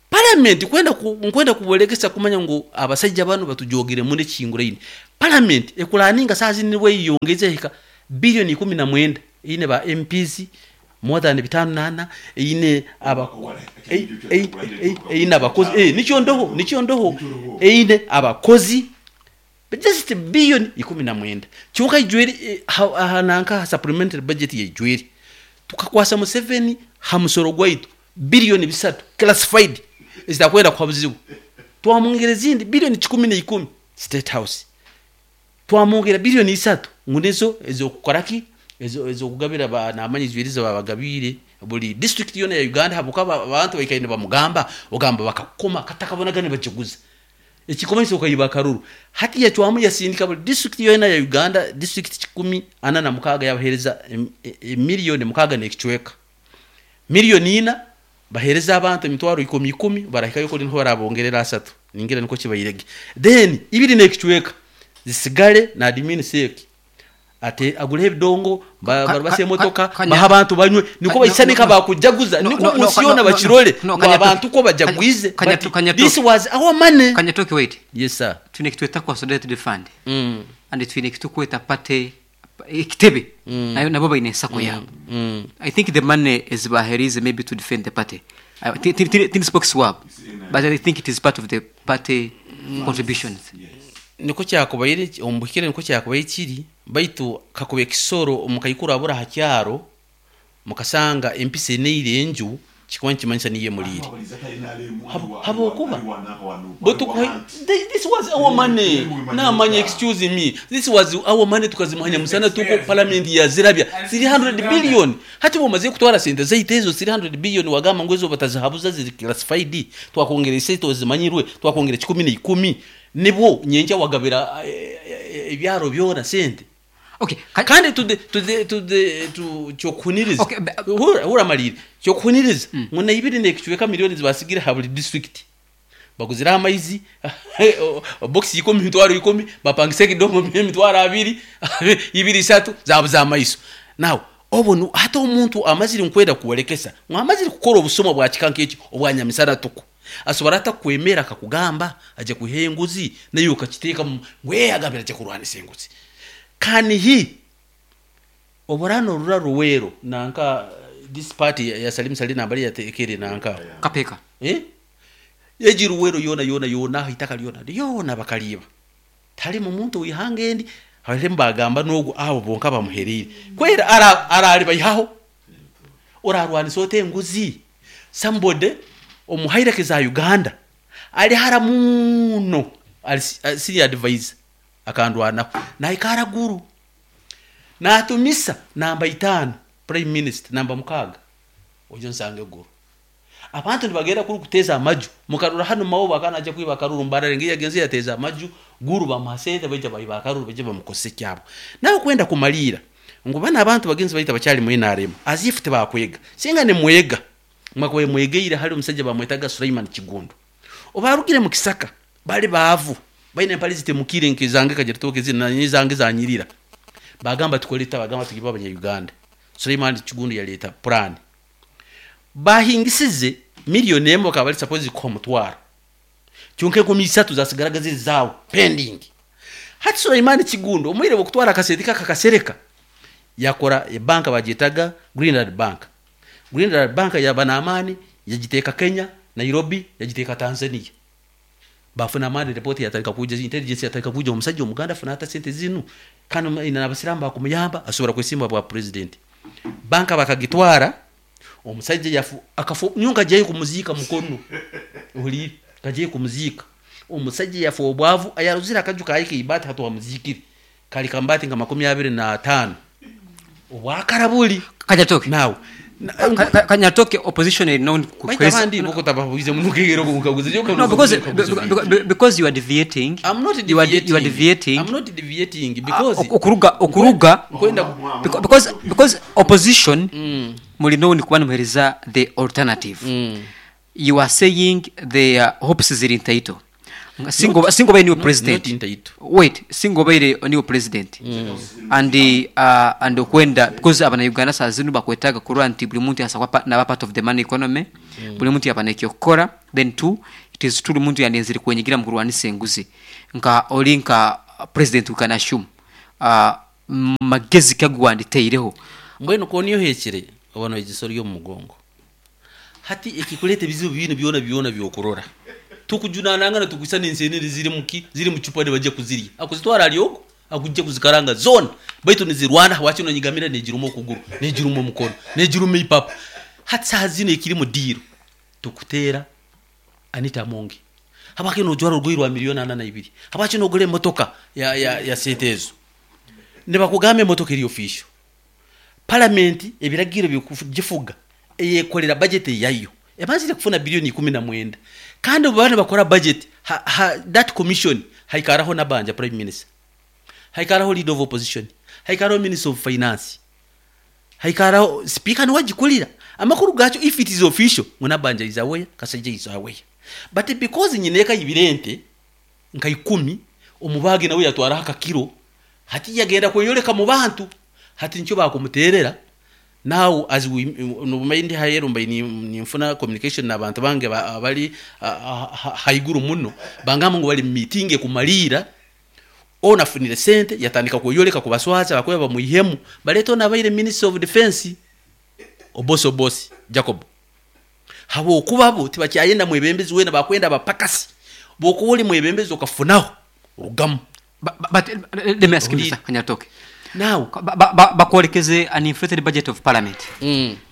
Parliament kwenda nkwenda kuborekesa kumanya ngu abasaija banu batujogire muno ekihinguraine. Parliament ekuraninga saaha zinu nibwo eyeyongeize ehika billion 19 eine ba MPs more than bitano nana, eine aba eine abakozi eh nikyo ndoho nikyo ndoho eine abakozi just billion 19 kyonka ijwire aha nanka aha supplementary budget yaijwire tukakwasa Museveni ha musoro gwaitu billion bisatu classified ezitakwenda kuha buzibu twamwongera ezindi billion 110 state house Twamwongyera biliyoni isatu ngu nizo ez'okukora ki? Ez'okugabira ba naamanya ijwire ezi baabagabiire buri disiturikiti yoona ya Uganda ahabw'okuba abantu baikaire nibamugamba ogamba bakakukoma katakabonagana nibakiguza. Ekikumanyisa okaiba akaruru. Hati yacwamu yasindika buri disiturikiti yoona ya Uganda, disiturikiti 146 yabaheereza emiliyoni mukaaga n'ekicweka. Miliyoni ina baheereze abantu emitwaro ikumi ikumi, barahikayo kuri niho barabongerera asatu, ningira nikwo kibaire ge. Then ibiri n'ekicweka zisigare na admin sec ate agureho ebidongo, barubase emotoka, bahe abantu banywe, nikwo baisane nka bakujaguza, nikwo omunsi yoona bakirore ngu abantu kwo bajagwize but this was our money. Kanyatoke wait. Yes sir. Twine ekitweta consolidated fund and twine ekiturikweta party ekitebe nayo nabo baine sacco yaabo i think the money ezi bahereize maybe to defend the party tindi spokes waabo but i think it is part of the party contributions. Nikwo kyakubaire, omu buhikire nikwo kyakubaire kiri, baitu kakuba ekisoro omukaikuru abura aha kyaro, mukasanga empisi eneire enju, kikuba nikimanyisa niyo emuriire. Habwokuba this was our money, namanya excuse me, this was our money tukazimuha nyamusana tuko parliament yazirabya 300 billion. Hati bwomazire kutwara sente zaitu ezo 300 billion wagamba ngu ezo batazihabuza ziri classified, twakwongera esente ezimanyirwe, twakwongera kikumi na ikumi, nibwo nyenkya wagabira ebyaro byona sente. Okay, Kandi to the, to the, to the, to kyokuhuniriza Okay, hurra, hurra malire kyokuhuniriza ngu naibiri nekicweka milioni zibasigire ha buri district baguzireho amaizi box ikumi emitwaro ikumi bapangisa ekidongo emitwaro abiri ibiri ishatu zabuza amaiso now obwo nu hati omuntu amazire nkwenda kworekesa ngu amazire kukora obusuma bwa kika nk'ekyo obwa nyamisana tuku asobora ata kukwemera akakugamba aje kwihayo enguzi naiwe okakiteekamu ngu ee agambire aje kurwanisa enguzi Can he obora norura Luweero nanka this part ya Salim Saleh nambari yatekere nanka Kapeeka. Eh? Egi Luweero yoona yoona yoona aho eitaka ryona ryona bakariiba. Tiharimu muntu w'eihanga endi harimu bagamba n'ogu abo bonka bamuhereire. Kweri ara araribaihaho? Orarwanisa ota enguzi? Somebody omu hierarchy za Uganda ari hara muuno ari senior advisor Akandwanaho nahika haraguru natumisa namba itano prime minister namba mukaaga oije onsange guru. Abantu nibagenda kuri kuteeza amaju mukarora hanu Mao akaba naija kwiba akaruru Mbarara engeri yagenzire yateeza amaju Guru bamuha sente baija baiba akaruru baija bamukozesa ekyabo. Nawe kwenda kumariira ngu banu abantu bagenzi baitu abakyari mu nrm as if tibakwega singa nimwega mwakubaire mwegeire hali omusaija bamwetaga Sulaiman Kiggundu obarugire mukisaka bari baavu Baine empare zitemukire nk'ezange kagira zinu nanye ezange zanyirira. Bagamba tukore tuta? Bagamba tugibe abanya Uganda. Suleiman Kiggundu yaleeta puraani. Bahingisize million emwe bakaba bari supposed kuha omutwaro. Kyonka enkumi isatu zasigaraga ziri zaabo pending. Hati Suleiman Kiggundu omwire bw'okutwara akasente ke akakasereka yakora ebanka bagyetaga Greenland Bank. Greenland Bank yaba n'amaani yagiteeka Kenya, Nairobi, yagiteeka Tanzania. Bafuna amaani report yatandika kwija, intelligence yatandika kwija omusajja omuganda afuna ata sente zinu kandi aine nabasiramu bakumuyamba asobora kwesimba bwa president. Banka bakagitwara omusajja yafu akafu nyowe nkagyayo kumuziika mukono ohuliire nkagyayo kumuziika omusajja yafa obwavu ayarozire akaju kaye keibaati hati wamuziikire kari kambaati nka 25 obwakara buri Kanyatoke. Now Kanyatoke opposition eri known ku Baitu abandi bo kotababuize muno kegera okunkaguza No, because because you are deviating. I'm not You are you are deviating. deviating. I'm not deviating because Okuruga okuruga nkwenda because opposition muri known kuba nimuhereza the alternative. You are saying their hopes ziri ntaito. Singa oba- singa obaire niwe Not- president not ntaito. Wait, singa obaire niwe president and and okwenda, because abana-Uganda saa zinu bakwetaaga kurora nti buri muntu yasa kuba naba part of the money economy, buri muntu yaba n'ekyokukora. Then two, it is true muntu yandenzire kwenyigira mu kurwanisa enguzi. Nka ori nka president, we can assume, magezi ki agu wanditeireho? Mbwenu ku niyo ohekire oba noyegyesa ori omu mugongo. Hati ekikureeta ebizibu binu byona byona byokurora tukujunanangana, tukwisa n'ensenene ziri muki, ziri mu cupa, nibajya kuzirya, akuzitwara ari ogu akujja kuzikaranga zoona, baitu nizirwana wakyo nonyigamira, negiruma okuguru, negiruma omukono, negiruma ipapa. Hati saha zino ekiri mu diiro tukuteera Anita Amongi, habwaki nojwara orugoye rwa miliyoni 42? Habwaki nogura emotoka ya sente ezo? Nibakugamba emotoka eri official. Palamenti ebiragiro byokugifuga eyekolera budget yayo, ebanzire kufuna biliyoni 19, kandi obu baba nibakora budget that commission haikaraho Nabanja prime minister, haikaraho leader of opposition, haikaraho minister of finance, haikaraho speaker, niwe agikurira. Amakuru gakyo, if it is official ngu Nabanja is aware, Kasajja is aware, but because nyine ekayibira ente nka 10, omubage nawe yatwaraho akakiro, hati yagenda kweyoleka mu bantu, hati nikyo bakumuterera. Now as we nobumayi ndi hayeru, mbaye ninfuna communication n'abantu bange abali haiguru muno, bangamba ngu bali mu meeting ekumalira. Ono afunire sente, yatandika kweyoleka kubaswaza, bakuba bamwihemu, baleta ono abaire minister of defense, Obosi, Obosi Jacob, habwokuba bo tibakyayenda mwebembezi wena, bakwenda abapakasi. Bwokuba oli mwebembezi okafunaho, orugamu. But let me ask you, Owulire. Mr. Kanyaritoke. Now Bakwolekeze an inflated budget of parliament,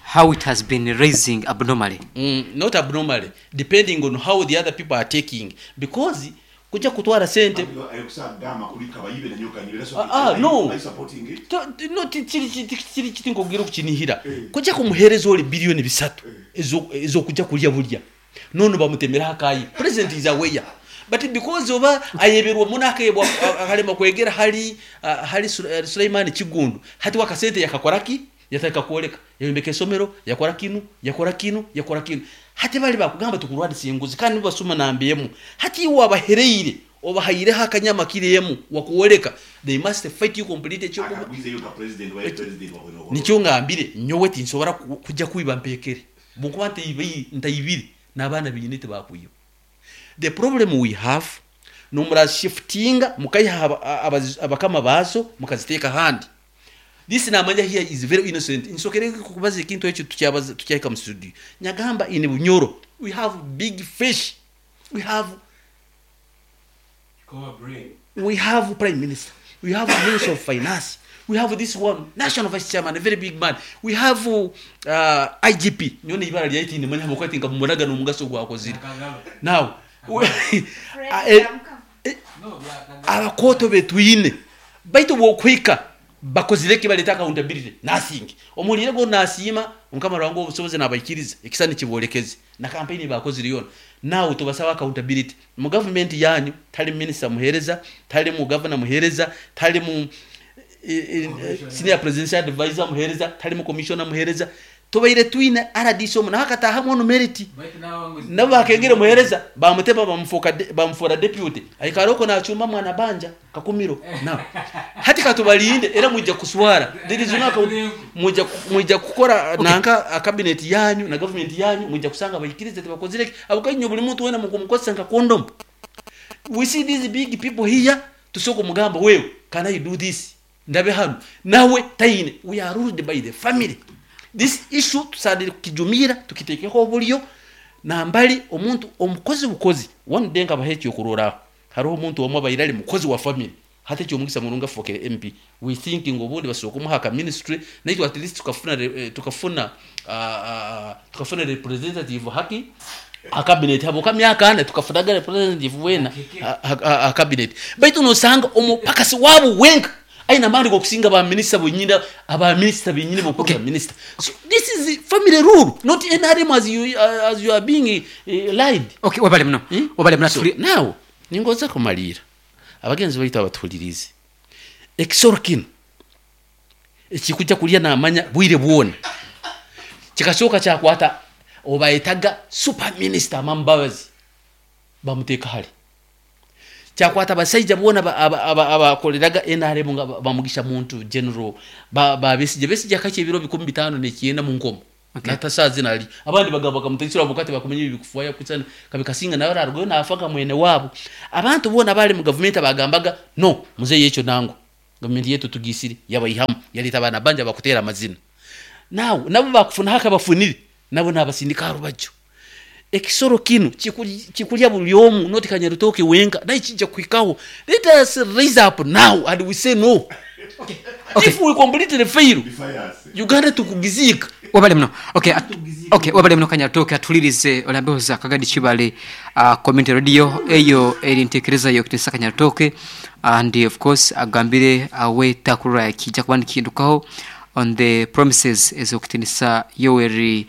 how it has been raising abnormally. Not abnormally, depending on how the other people are taking, because kujja kutwara sente. Ah, no. No, kiri kiti, nkubwira okukinihira kujja kumuhereza oli biliyoni 3 ez'okujja kulya bulya, none bamutemeraho akayi. President is aware, but because oba ayeberwa muno, akebwa, akalema kwegera hali hali Suleiman Kigundu, hati wakasente yakakoraki, yataka kwoleka yayombeka esomero, yakora kinu, yakora kinu, yakora kinu. Hati bali bakugamba tukurwanisa enguzi, kandi nibasuma nambiyemu. Hati iwe wabahereire, obahaireho akanyama kiremu wakuwoleka, they must fight you complete. Ekyokuba nikyo ngambire nyowe tinsobora kujja kwiba mpekere, bwokuba ntayibire n'abaana biine tibakwiba. The problem we have, nomurashiftinga mukayiha abakama bazo, mukaziteeka ahandi. This namanya here is very innocent. Nsokere kubaza ekintu ekyo, tukyabaza tukyahika mu studio, nyagamba in Bunyoro we have big fish. We have prime minister, we have minister of finance, we have this one national vice chairman, a very big man, we have IGP nyone ibara lyaiti nimanya mukwati nga mumunaga n'omugaso gwakozire. Now abakoto betwine, baitu bwokwika bakozire ki? Baleta accountability, nothing. Omulire go nasiima Mukama rwangu obusobozi nabaikiriza ekisa nikibolekeze na campaign bakozire yona. Now tubasaba accountability mu government yanyu. Tali minister muhereza, tali mu governor muhereza, tali mu senior presidential advisor muhereza, tali mu commissioner muhereza. Tubaire twine RDC omu nawe akatahamu ono merit, nabo bakengere muhereza, bamuteba, bamufora deputy, aikara oko nachumba mwana banja kakumiro. Now hati katubalinde, era mujja kuswara. There is no account. Mujja kukora nanka a cabinet yanyu na government yanyu, mujja kusanga bayikirize tebakozire abo kanyo. Buli muntu wena mukumukozesa nka condom. We see these big people here, tusoko mugamba wewe, can I do this? Ndabe hano nawe taine. We are ruled by the family. This issue tusadire kukijumira, tukitekeho obulyo nambali omuntu omukozi bukozi. One day nkabaha ekyokuroraho, hariho omuntu omwe abaire ari mukozi wa family, hati ekyomugisa murungi afokere MP. We thinking obundi basobola kumuha aka ministry, naitwe at least tukafuna representative haki a cabinet, haboka myaka 4 tukafunaga representative wena a cabinet. Baitu nosanga omupakasi wabo wenka aina mandi gokusinga ba minister bonyina, aba minister benyini bokuba Okay. minister. So this is the family rule, not NRM as you are being lied. Okay, wabale muno. Hmm? Wabale muno. So, tuli now ningoza kumalira abagenzi baitu abatuhulirize, ekisoro kino ekikujja kulya namanya bwire bwona kikasooka kyakwata obayetaga super minister Amama Mbabazi, bamuteeka hali. Kyakwata abasaija boona abakoreraga NRM nga ba Mugisha Muntu, General ba Besigye. Besigye akakya ebiro 59 mu nkomo. Okay. Nata saaha zinu ari. Abandi bagamba bakamutaisira habwokuba tibakumanya ebi bikufwayo kutsana kabi kasinga nawe ararugayo naafa nka mwene waabo. Abantu boona abaari mu gavumenti abagambaga no muzeeyi ekyo nangwa gavumenti yaitu tugiisire yabaihamu yareeta abaana bangi abakuteera amazina. Now nabo bakufunaho akabafunire nabo nabasindika aha rubaju. Ekisoro kinu kikurya buri omu not Kanyarutooke wenka naye kija kuhikaho. Let us raise up now and we say no. Okay. If we completely fail, Uganda tukugiziika. Webale muno. Okay, okay, webale muno Kanyarutooke atuhulirize orambeho za Kagadi Kibale Community Radio eyo eri ntekereza yo kitinisa Kanyarutooke and of course agambire awe takurora kija kuba nikihindukaho on the promises ez'okutinisa Yoweri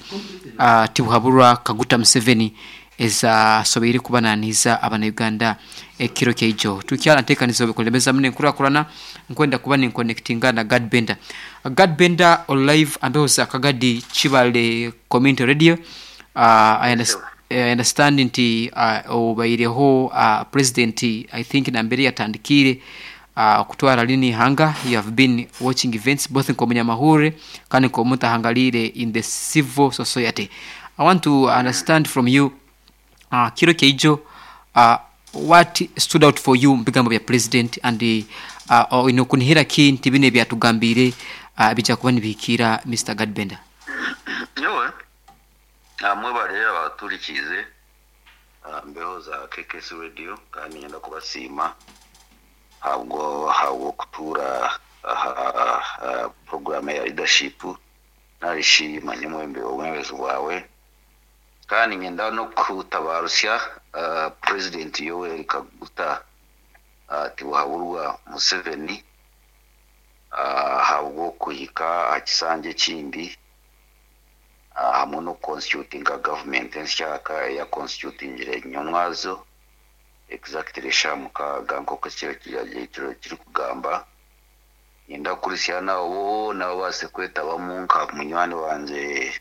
Tibuhaburwa Kaguta Museveni ezasoboire kuba nanihiza abana-Uganda ekiro kyaijo. Tukyara ntekaniza obikulembeza muno enkurakurana nkwenda kuba ninkonectinga na Gad Bender. Gad Bender oli live ambeho za Kagadi Kibale Community Radio. I understand nti obaireho President I think nambere yatandikiire kutwara rinu ihanga, you have been watching events both nk'omunyamahurire kandi nk'omuntu ahangariire in the civil society. I want to understand from you kiro kyaijo what stood out for you mubigambo bya President and oine okunihira ki nti binu ebyatugambiire bija kuba nibihikiira Mister Gad Bender? Nyowe mwebare abaturikiize aha mbeho za KKC Radio kandi niinyenda kubasiima ahabw'okutuura aha puroguraamu eya Leadership nari shi manya obwebembezi bwawe. Kandi niinyenda n'okutabaarusya Purezidenti Yoweri Kaguta Tibuhaburwa Museveni ahabw'okuhika aha kisanja ekindi hamwe n'okukonstitutinga gavumenti ensyaka ei akonstitutingire nyomwazo exactly eshaaha 6 nk'oku ekiragiro kirikugamba. Niinyenda kukurisya naabo boona babaase kwetabamu nka munywani wangye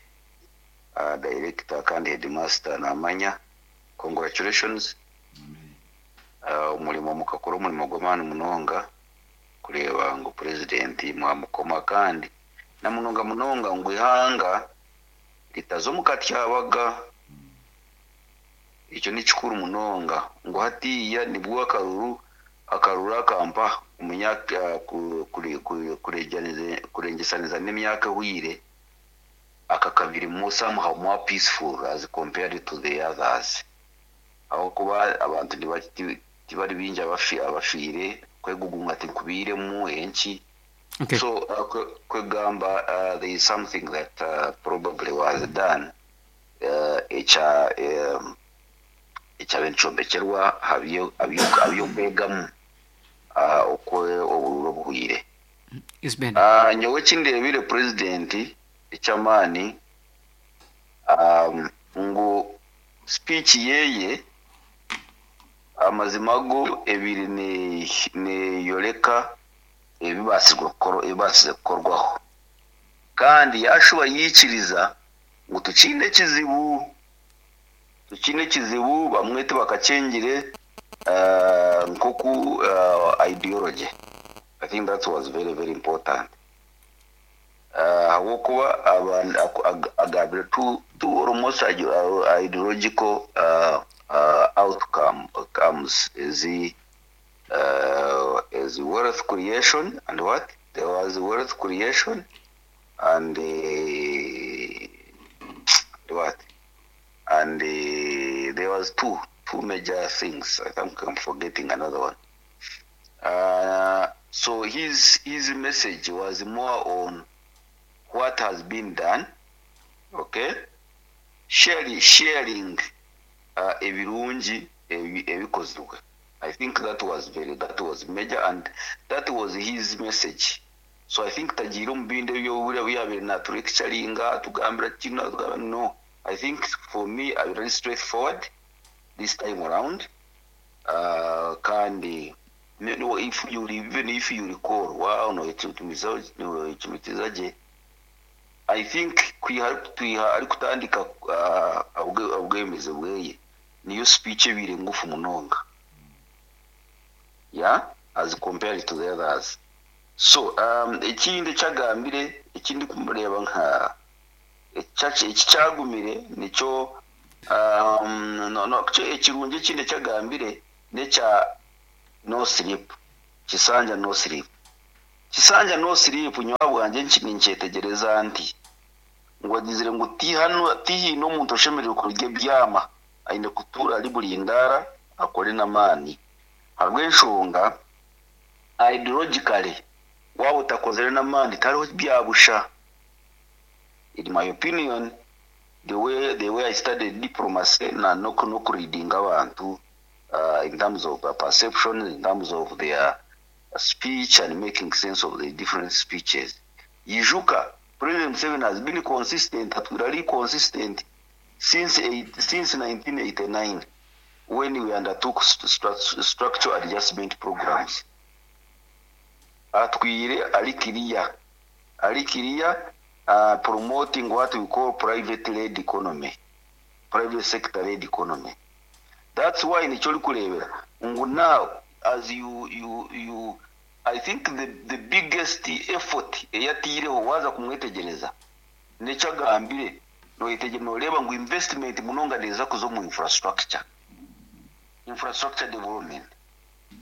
director kandi headmaster naamanya. Congratulations. Omurimo mukakora omurimo gw'amaani munonga kureeba ngu purezidenti mwamukoma kandi na munonga munonga ngu eihanga ritaza omu katyabaga. Ekyo ni kikuru munonga ngu hatiiya nibwo akaruru akaruru akampa kurengyesaniriza n'emyaka ehweire aka kabiri somehow more peaceful as compared to the others. Ahabw'okuba abantu tibari baingi abafiire, kwegugunga tikubairemu enki. Okay. So kwegamba there is something that probably was done ekyabaire nikyombekyerwa aha by'okwegamu oku obururu obuhweire. Yes, Ben. Nyowe eki ndeebire purezidenti eky'amaani ngu speech yeye amazima go ebaire neeyoreka ebibaasize kukorwaho. Kandi yaashuba yaikiriza ngu tukiine ekizibu, tukiine ekizibu bamwe tibakakyengire nk'oku ideology. I think that was very, very important. Ahabw'okuba agambire two almost ideological outcomes is wealth creation and what? There was wealth creation and what? And there was two major things. I think I'm forgetting another one. So his message was more on what has been done, okay? Sharing ebirungi ebikozirwe. I think that was very, that was major, and that was his message. So I think tagiire omu bindi eby'obura byabire natulecturinga, atugambira kino, atugambira no. I think for me, I very straightforward this time around. Kandi no, if you even if you recall, wow, no, it kimitiza je. I think kwiha twiha ari kutandika obwemeze bweye niyo speech ebire ngufu munonga. Yeah, as compared to the others. So ekindi eki agambire eki ndikureeba nka eki kyagumire nikyo no no ekirungi ekindi eki agambire n'ekya no sleep, Kisanja no sleep. Kisanja no sleep nyowe ahabwangye ninkyetegyereza nti ngu agizire ngu tihaine omuntu oshemereire kurya ebyama, aine kutuura ari burindaara akore n'amaani. Ahabw'enshonga ideologically waaba otakozire n'amaani tihariho bya busha. In my opinion, the way the way I studied diplomacy na n'okureadinga abantu in terms of their perception, in terms of their speech and making sense of the different speeches. Ijuka, President Museveni has been consistent, atwire ari consistent since since 1989 when we undertook structural adjustment programs. Atwire ari clear, ari clear promoting what we call private led economy, private sector led economy. That's why nikyo orikureebera ngu now as you you you I think the the biggest effort ei ataireho waaza kumwetegyereza n'eki agambire noyetegyereza noreeba ngu investment munonga neeza kuza omu infrastructure, infrastructure development.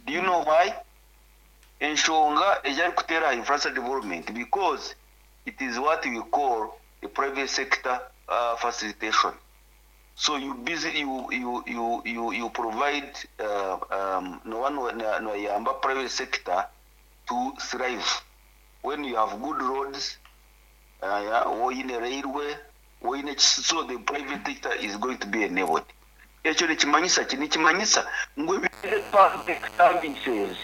Do you know why? Enshonga egi arikuteera aha infrastructure development because it is what we call a private sector facilitation. So you busy you you you you you provide nooba noyamba private sector to thrive when you have good roads, waaba oine railway, waaba oine ki so the private sector is going to be enabled. Ekyo nikimanyisa ki? Nikimanyisa ngu ebi public services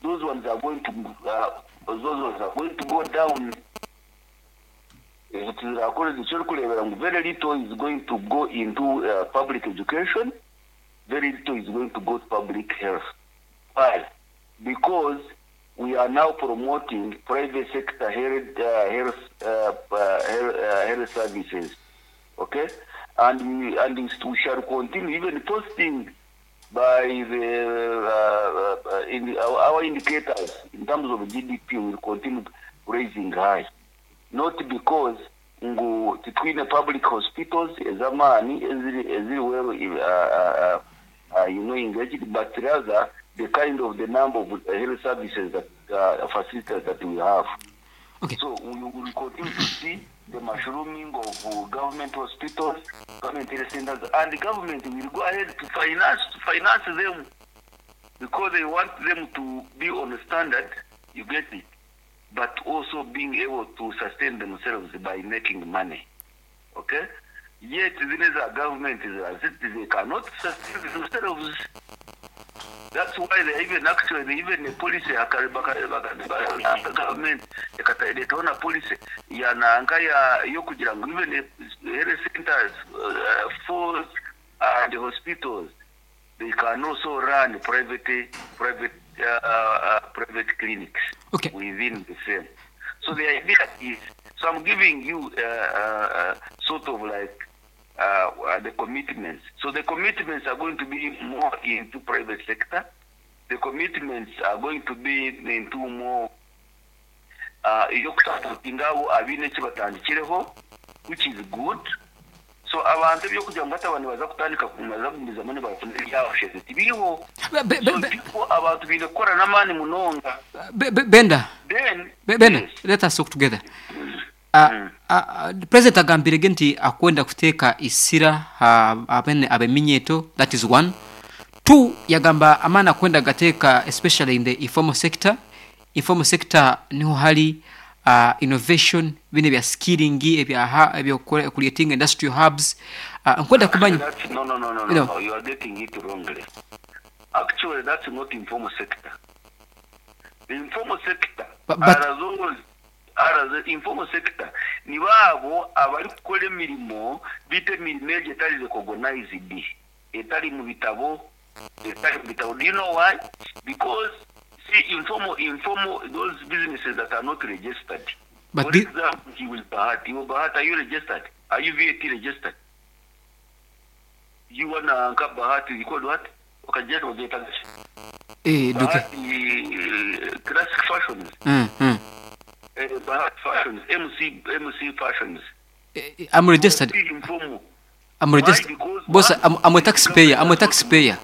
those ones are going to those ones are going to go down. Ezo tiziraakore nikyo orikureebera ngu very little is going to go into public education, very little is going to go to public health. Why? Because we are now promoting private sector health, health, health services. Okay? And we shall continue even posting by the in our indicators in terms of GDP will continue raising high. Not because ngu titwine public hospitals ez'amaani eziri eziri well you know engaged, but rather the kind of the number of health services that facilities that we have. Okay. So we will continue to see the mushrooming of government hospitals, government health centers, and the government will go ahead to finance them because they want them to be on the standard, you get it, but also being able to sustain themselves by making money. Okay? Yet these are government, they cannot sustain themselves. That's why they even actually, even the policy, government, ekareetaho na policy ya nanka ya y'okugira ngu even the health centers, force and the hospitals, they can also run private clinics within the same. So the idea is, so I'm giving you sort of like the commitments. So the commitments are going to be more into private sector. The commitments are going to be into more ey'okusupportinga abo abaine eki batandikireho, which is good. So abantu ebyokugira ngu hati abantu nibaza kutandika baza kugumizamu nibafuna ebyabasheze tibiriho. So people, abantu baine kukora n'amaani munonga. Benda. Then, Benda, yes. let us talk together. President agambire ge nti akwenda kuteeka isira abene abeminyeto, that is one. Two, yagamba amaani akwenda gateeka especially in the informal sector. Informal sector niho hari innovation, bine bya skilling, ebya ebyo creating industrial hubs. Nkwenda kumanya. That's, no, no, no, no, You know. no, you are getting it wrongly. Actually, that's not informal sector. The informal sector But are those are the informal sector ni baabo abari kukora emirimo bita emirimo egyo etari recognized, etari mu bitabo, etari mu bitabo. Do you know why? Because see, informal those businesses that are not registered. But For example, you will Bahati, you will Bahati, are you registered? Are you VAT registered? You wanna Bahati, you call what? Okay, just get Eh, duke Bahati Classic Fashions. Bahati Fashions, MC Fashions. I'm registered. Still informal. I'm registered. Why? Because Boss, one, I'm a taxpayer. I'm a taxpayer.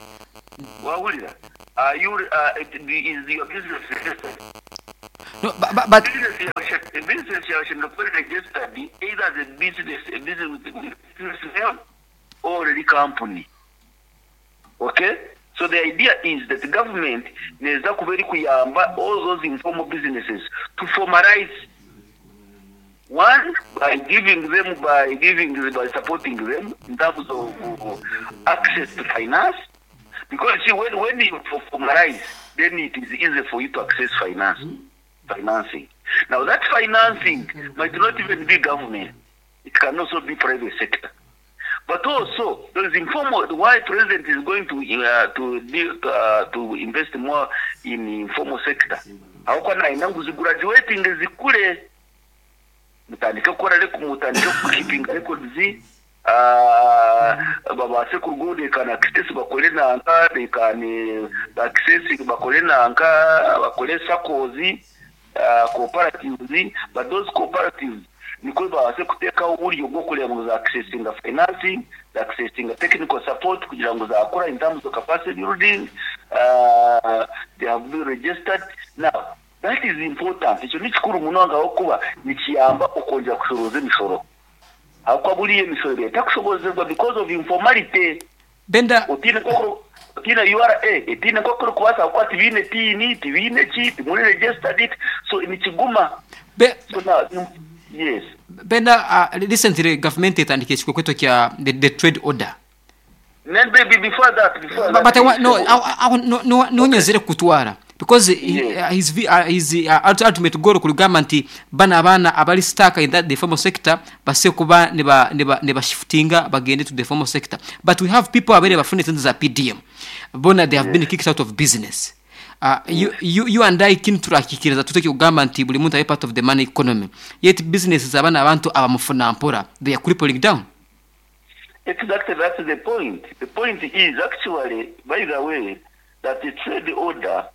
Wahurira. Are you, is your business registered? No, but Business yawe ishemereire kuba registered either as a business with business name or a company. Okay? So the idea is that the government neeza kuba erikuyamba all those informal businesses to formalize. One, by giving them, by giving, by supporting them in terms of access to finance. Because see, when you formalize, then it is easy for you to access financing. Now that financing might not even be government. It can also be private sector. But also, there is informal. Why president is going to invest more in informal sector? How can I now graduating zikule? Mutandike kukora reko, mutandike keeping records. Babase kurwo they can access bakore nanka, they can access bakore nanka, bakore sakozi, cooperatives, but those cooperatives niko babase kuteka uburyo bwo kureba ngo za accessing financing, za accessing technical support kugira ngo zakora in terms of capacity building, they have been registered. Now that is important. Icyo ni kikuru munonga aho kuba nikiyamba okongera kushoroza emishoro. Aho buriye emishoro leta kushobozerwa because of informality. Benda otine koko otine URA etine koko kubasa kwati bine tini tibine chi timuri registered it, so nikiguma. So now yes Benda, recently government etandike ekikwekweto kya the trade order. Then baby before that but I want no I no nonyezere kutwara because his ultimate goal kulugamba nti bana abaana abali stuck in that the formal sector base kuba ne ba shiftinga bagende to the formal sector, but we have people abere bafune sente za PDM bona they have been kicked out of business. You and I kin turakikiriza tuteke kugamba nti buli muntu abe part of the money economy, yet businesses abana abantu abamufuna mpora they are crippling down. Exactly, that's the point. The point is actually, by the way, that the trade order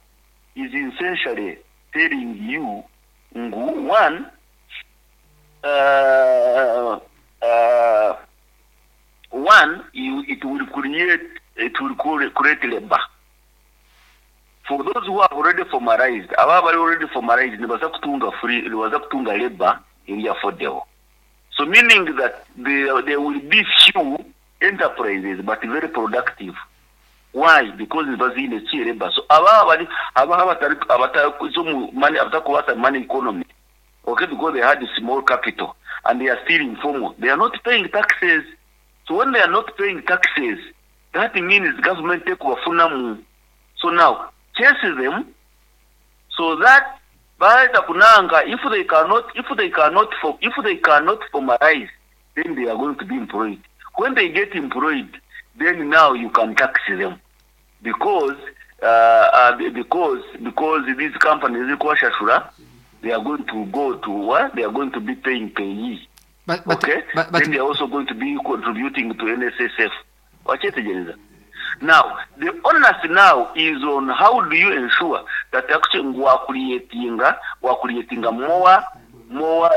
is essentially telling you, one, it will create labor. For those who have already formalized, already formalized, nibaza kutunga labor iri affordable. So meaning that there will be few enterprises, but very productive. Why? Because it was in the labor. So money economy. Okay, because they had a small capital and they are still informal. They are not paying taxes. So when they are not paying taxes, that means government take wafunamu. So now chase them so that by the kunanga, if they cannot formalize, then they are going to be employed. When they get employed, then now you can tax them because these companies they are going to go to what? They are going to be paying payee. But then they are also going to be contributing to NSSF. Now, the onus now is on how do you ensure that actually we are creating more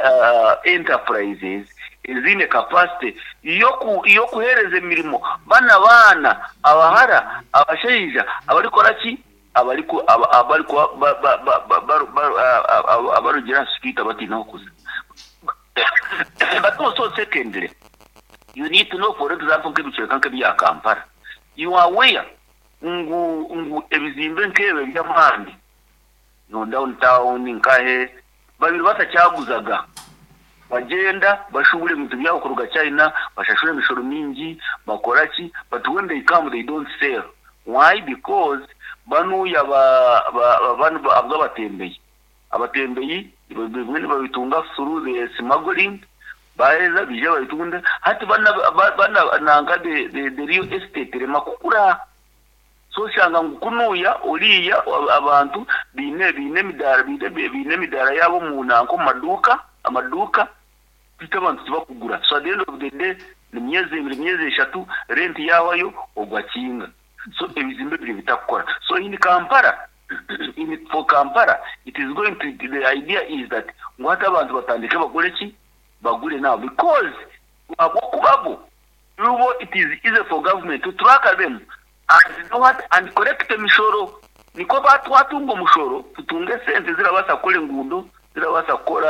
enterprises ezine capacity yokuhereza emirimo bana abahara abashaija abarikora ki abarugira speaker batina kuza. But also secondly, you need to know, for example, nk'ebicweka nk'ebya Kampala, you are aware ngu ebizimbe nk'ebyo by'amaani no downtown nkahe babiri batakyaguzaga bagenda bashubure ebintu byabo kuruga China, bashashura emishoro mingi bakora ki, but when they come they don't sell. Why? Because banuya abatembeyi bimwe babitunga through the smuggling baheza bija babitunda hati bana nanga the real estate rema kukura. So shanga ngukunuya oliya abantu bine midara yabo mu nanko amaduka bita abantu tibakugura. So at the end of the day ni myezi ibiri myezi eshatu rent yawayo ogwakinga. So ebizimbe biri bitakukora. So in Kampala, in for Kampala, it is going to, the idea is that ngu hati abantu batandike bagure ki? Bagure now because ahabw'okuba bo, bo it is easy for government to track them and know what, and collect emishoro. Nikwo ba twatunga omushoro, tutunge esente ezirabaasa kukora enguudo, zirabaasa kukora.